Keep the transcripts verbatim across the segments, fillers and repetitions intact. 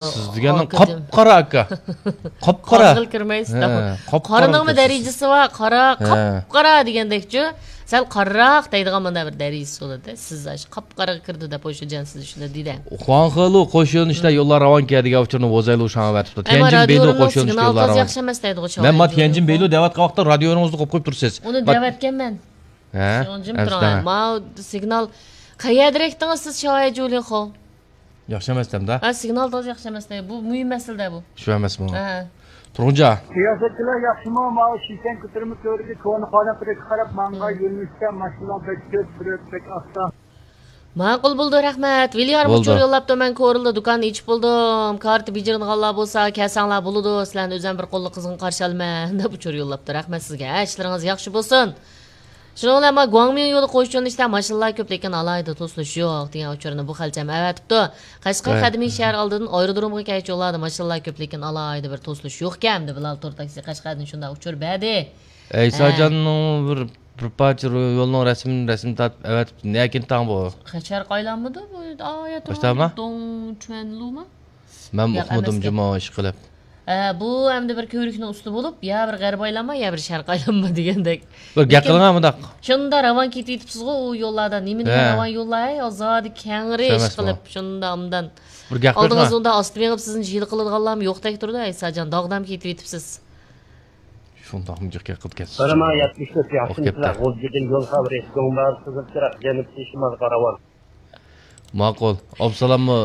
سىز دېگەننىڭ قاپقارا، ئاكا. قاپقارا. قارىغىلى كىرمەيسىز. ھە، قاپقارا قارىنىڭمۇ دەرىجىسى بار، قارا، قاپقارا دېگەندەكچۇ. سەل قارىراق دەيدىغان مانا بىر دەرىجىسى بولىدۇ. سىز ئاشۇ قاپقاراغا كىردى دەپ ئويلىشىدىكەنسىز شۇنى دېدى. خۇاڭخېلۇ قوش يۆنىلىشتە يوللار راۋان كەن دېگەن ئۇچۇرنى ۋوزايلۇ شاڭ ئەۋەتىپتۇ. تيەنجىن بېيلۇ قوش يۆنىلىشتە يوللار راۋان. سىگنال تازا ياخشى ئەمەس دەيدىغۇ. مەن ما تيەنجىن بېيلۇ دەۋاتقان ۋاقىتتا رادىيونىڭىزنى قويۇپ قويۇپ تۇرىسىز. ئۇنى دەۋەتكەنمەن. ھە؟ شۇڭجىم تۇرۇڭ. ما سىگنال قەيەردىرەك دېدىڭىز سىز شاۋاي جۇلىنخو؟ ياخشى ئەمەس دەمدە. ھە، سىگنال تازا ياخشى ئەمەس دەي. بۇ مۇھىم مەسىلىدە بۇ. شۇ ئەمەسمۇ؟ ھە. تۇرغۇنجا. رىياسەتچىلەر ياخشىمۇ؟ ماۋۇ شىشەن كۆتۈرمە تۆرىگە كونا قانات تەرەپكە قاراپ ماڭغان يۆنىلىشتە ماشىنىلار بەك كۆپ، سۈرئەت بەك ئاستا. ماقۇل بولدى، رەھمەت. ۋىليارم ئۇچۇر يوللاپتۇ، مەن كورلىدا دۇكان ئېچىپ بولدۇم. كارتا بېجىرىدىغانلار بولسا كەلسەڭلار بولىدۇ، سىلەرنى ئۆزۈم بىر قوللۇق قىزغىن قارشى ئالىمەن دەپ ئۇچۇر يوللاپتۇ. رەھمەت سىزگە. ھە، ئىشلىرىڭىز ياخشى بولسۇن. شۇنىڭ بىلەن ما گۇاڭمىڭ يولى قوش يۆنىلىشتە ماشىنىلار كۆپ، لېكىن ئالاھىدە توسۇلۇش يوق دېگەن ئۇچۇرنى بۇ خەلچەم ئەۋەتىپتۇ. قەشقەر قەدىمىي شەھەر ئالدىدىن ئايرودرومغا كەلگۈچە يوللاردا ماشىنىلار كۆپ، لېكىن ئالاھىدە بىر توسۇلۇش يوقكەن دەپ بىلال تور تاكسى قەشقەردىن شۇنداق ئۇچۇر بەردى. ئەيساجاننىڭ بىر، بىر پارچە يولنىڭ رەسىمىنى، رەسىمىنى تارتىپ ئەۋەتىپتۇ. نەكىن تاڭ بۇ؟ شەرقىي ئايلانمىدۇ بۇ؟ ئايا دۇڭچۈەنلۇما؟ مەن ئۇقمىدىم جۇمۇ ئىشقىلىپ. ھە، بۇ ئەمدى بىر كۆۋرۈكنىڭ ئۈستى بولۇپ، يا بىر غەربىي ئايلانما، يا بىر شەرقىي ئايلانما دېگەندەك. بىر گەپ قىلىڭا مۇنداق. شۇنداق راۋان كېتىۋېتىپسىزغۇ ئۇ يوللاردا. نېمە دېگەن راۋان يوللار، ھەي، ئازادە كەڭرى ئىشقىلىپ، شۇنداق ئاندىن. بىر گەپ قىلىڭا. ئالدىڭىزدا ئۇنداق ئاستا مېڭىپ سىزنى جىلە قىلىدىغانلارمۇ يوقتەك تۇرىدۇ، ئەيساجان، داغدام كېتىۋېتىپسىز. شۇنداقمۇ جىق گەپ قىلىپ كەتسىز. بىر مىڭ يەتمىش تۆت ياخشىمۇسىلەر؟ غۇلجىدىن يول خەۋىرى، دۆڭباغ، قىزىل چىراغ، جەنۇبتىن شىمالغا راۋان. ماقۇل. ئابسالاممۇ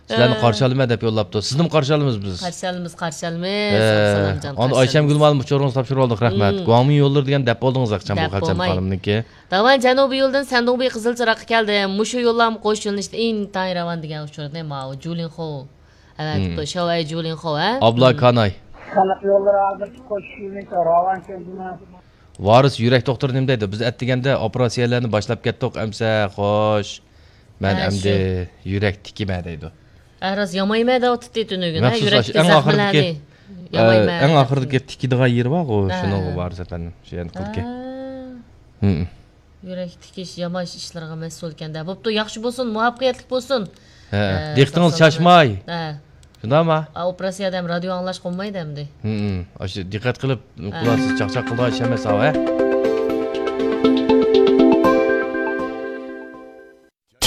سىلەرنى قارشى ئالىمەن دەپ يوللاپتۇ. سىزنىمۇ قارشى ئالىمىز بىز. قارشى ئالىمىز، قارشى ئالىمىز. ئابسالامجان، ئانا ئايشەمگۈل مۇئەللىم ئۇچۇرىڭىزنى تاپشۇرۇپ ئالدۇق، رەھمەت. گۇاڭمىڭ يوللىرى دېگەن دەپ بولدىڭىز ئاخشام بۇ خەلچەم خانىمنىڭكى. داۋان جەنۇبىي يولدىن سەندۇڭبېي قىزىل چىراغقا كەلدىم. مۇشۇ يوللارمۇ قوش يۆنىلىشتە ئىنتايىن راۋان دېگەن ئۇچۇرنى ماۋۇ جۇلىنخو ئەۋەتىپتۇ. شاۋەي جۇلىنخو، ھە؟ ئابلا كاناي. خەلق يوللىرى ھازىر قوش يۆنىلىشتە راۋان كەلدىمۇ؟ ۋارىس يۈرەك دوختۇرى نېمە دەيدۇ؟ بىز ئەتىگەندە ئوپېراتسىيەلەرنى باشلاپ كەتتۇق، ئەمسە خوش. مەن ئەمدى يۈرەك تىكىمەن دەيدۇ. ھە، راست، يامايمەن دەۋاتىتتى تۈنۈگۈن، ھە، يۈرەكتىكى زەخمىلەرنى. يامايمەن. ئەڭ ئاخىرىدىكى تىكىدىغان يېرى بارغۇ، شۇنىڭغۇ ۋارىس ئەپەندىم، شۇ يەنە قىلدىكەن. يۈرەك تىكىش، ياماش ئىشلىرىغا مەسئۇلكەن-دە. بوپتۇ، ياخشى بولسۇن، مۇۋەپپەقىيەتلىك بولسۇن. ھە، دىققىتىڭىز چاچماي. ھە. شۇنداقمۇ؟ ئا، ئوپېراتسىيەدە ھەم رادىيو ئاڭلاشقا بولمايدۇ ئەمدى. ھىم، ئاشۇ دىققەت قىلىپ قىلارسىز، چاقچاق قىلىدىغان ئىش ئەمەس ئاۋۇ، ھە؟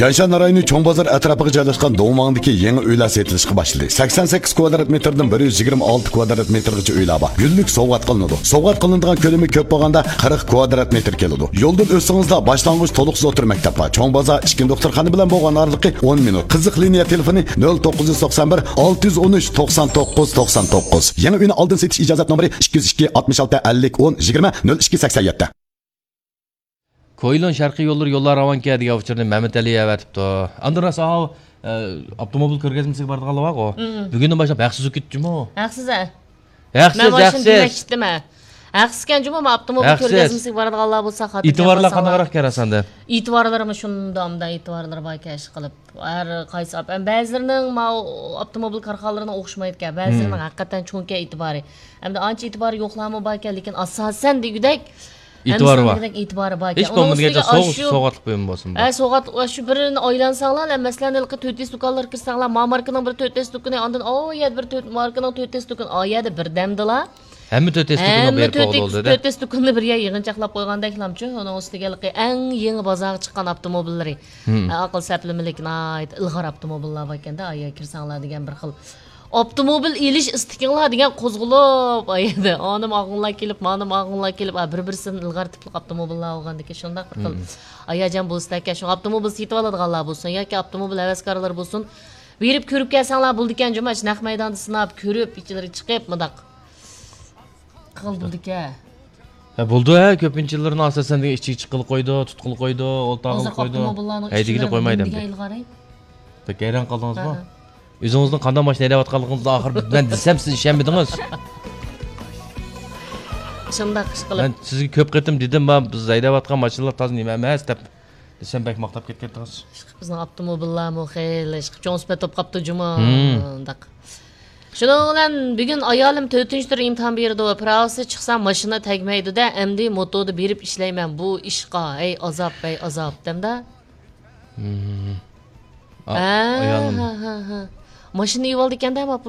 تيەنشان رايونى چوڭ بازار ئەتراپىغا جايلاشقان دۇڭۋاڭدىكى يېڭى ئۆيلەر سېتىلىشقا باشلىدى. سەكسەن سەككىز كۋادرات مېتىردىن بىر يۈز يىگىرمە ئالتە كۋادرات مېتىرغىچە ئۆيلەر بار. گۈللۈك سوۋغات قىلىنىدۇ. سوۋغات قىلىنىدىغان كۆلىمى كۆپ بولغاندا قىرىق كۋادرات مېتىر كېلىدۇ. يولدىن ئۆتسىڭىزلا باشلانغۇچ تولۇقسىز ئوتتۇرا مەكتەپ بار. چوڭ بازار ئىچكى دوختۇرخانا بىلەن بولغان ئارىلىقى ئون مىنۇت. قىزىق لىنىيە تېلېفونى نۆل توققۇز يۈز توقسان بىر، ئالتە يۈز ئون ئۈچ، توقسان توققۇز، توقسان توققۇز. يېڭى ئۆينى ئالدىن سېتىش ئىجازەت نومۇرى ئىككى يۈز ئىككى، ئاتمىش ئالتە، ئەللىك، ئون، يىگىرمە، نۆل ئىككى، سەكسەن يەتتە. كويلۇن شەرقىي يوللىرى يوللار راۋانكەن دېگەن ئۇچۇرنى مەمەتئەلى ئەۋەتىپتۇ. ئاندىن راست ئاۋۇ، ئە، ئاپتوموبىل كۆرگەزمىسىگە بارىدىغانلار بارغۇ. مم. بۈگۈندىن باشلاپ ھەقسىز ئۆتۈپ كېتىپتىمۇ؟ ھەقسىز، ھە. ھەقسىز، مەن مانا شۇنى ھەقسىز. دېمەكچى ئىدىم، ھە. ھەقسىزكەن جۇمۇ، مانا ئاپتوموبىل كۆرگەزمىسىگە بارىدىغانلار بولسا، خاتىرجەم ئېتىبارلار بولساڭلار. قانداقراق كەن ئاساندا؟ ئېتىبارلىرىمۇ شۇنداق ئامدا ئېتىبارلىرى بار كەشى قىلىپ. ھەر قايسى ئاپ-، بەزىلىرىنىڭ ماۋۇ ئاپتوموبىل كارخانىلىرىنىڭ ئوخشىمايدىكەن. بەزىلىرىنىڭ ھەقىقەتەن چوڭكەن ئېتىبارى. ئەمدى ئانچە ئېتىبارى يوقلارمۇ باركەن، لېكىن ئاساسەن دېگۈدەك ئېتىبارى بار. ھەممىسىنىڭ دېگۈدەك ئېتىبارى باركەن. ھېچ بولمىغاندا سوغ-، سوغاتلىق بۇيۇم بولسۇن بۇ. ھە، سوغاتلىق، شۇ بىرىنى ئايلانساڭلار، مەسىلەن، ھېلىقى تۆت ئېس دۇكانلارغا كىرسەڭلار، ما ماركىنىڭ بىر تۆت ئېس دۇكىنى، ئاندىن ئاۋۇ يەردە بىر تۆت ماركىنىڭ تۆت ئېس دۇكىنى، ئا يەردە بىردەمدىلا ھەممە تۆت ئېس دۇكىنىغا بېرىپ بولدى. تۆت ئېس دۇكىنىنى بىر يەرگە يىغىنچاقلاپ قويغاندەكلامچۇ، ئۇنىڭ ئۈستىگە ھېلىقى ئەڭ يېڭى بازارغا چىققان ئاپتوموبىللىرى. ھە، ئاقىل سەپلىمىلىك، ناھايىتى ئىلغار ئاپتوموبىللار باركەن-دە، ئايا كىرسەڭلار دېگەن بىر خىل ئاپتوموبىل ئېلىش ئىستىكىڭلار دېگەن قوزغىلىپ، ئايا ئانىم ئاغىنلار كېلىپ، مانىم ئاغىنلار كېلىپ، ھە، بىر-بىرسىدىن ئىلغار تىپلىق ئاپتوموبىللار بولغاندىكىن شۇنداق بىر خىل ھاياجان بولسىدەكەن. شۇڭا ئاپتوموبىل سېتىۋالىدىغانلار بولسۇن ياكى ئاپتوموبىل ھەۋەسكارلىرى بولسۇن، بېرىپ كۆرۈپ كەلسەڭلار بولىدىكەن جۇمۇ، ئاشۇ نەق مەيداندا سىناپ كۆرۈپ، ئىچىلىرىگە چىقىپ مۇنداق قىلغىلى بولىدىكەن. ھە، بولىدۇ، ھە، كۆپىنچىلىرىنى ئاساسەن دېگەن ئىچىگە چىققىلى قويىدۇ، تۇتقىلى قويىدۇ، ئولتۇرغىلى قويىدۇ. ھەيدىگىلى قويمايدۇ ئەمدى. بەك ھەيران قالدىڭىزمۇ؟ ھە، ھە. ئۆزىڭىزنىڭ قانداق ماشىنا ھەيدەۋاتقانلىقىڭىزنى ئاخىر مەن دېسەم، سىز ئىشەنمىدىڭىز. شۇنداق ئىش قىلىپ. مەن سىزگە كۆپ قېتىم دېدىم، ما، بىز ھەيدەۋاتقان ماشىنىلار تازا نېمە ئەمەس دەپ. دېسەم، بەك ماختاپ كەتكەنتىڭىز. بىزنىڭ ئاپتوموبىللارمۇ خېلى چوڭ سۈپەت بولۇپ قاپتۇ جۇمۇ. ھىم. شۇنىڭ بىلەن بۈگۈن ئايالىم تۆتىنچى تۈر ئىمتىھان بېرىدۇ. پىراۋىسى چىقسا ماشىنا تەگمەيدۇ-دە، ئەمدى موتودا بېرىپ ئىشلەيمەن بۇ ئىشقا. ھەي ئازاب، ھەي ئازاب، دەمدە. ھىم. ھە، ئايالىم. ھە، ھە، ھە. ماشىنا ئېۋالدىكەندە،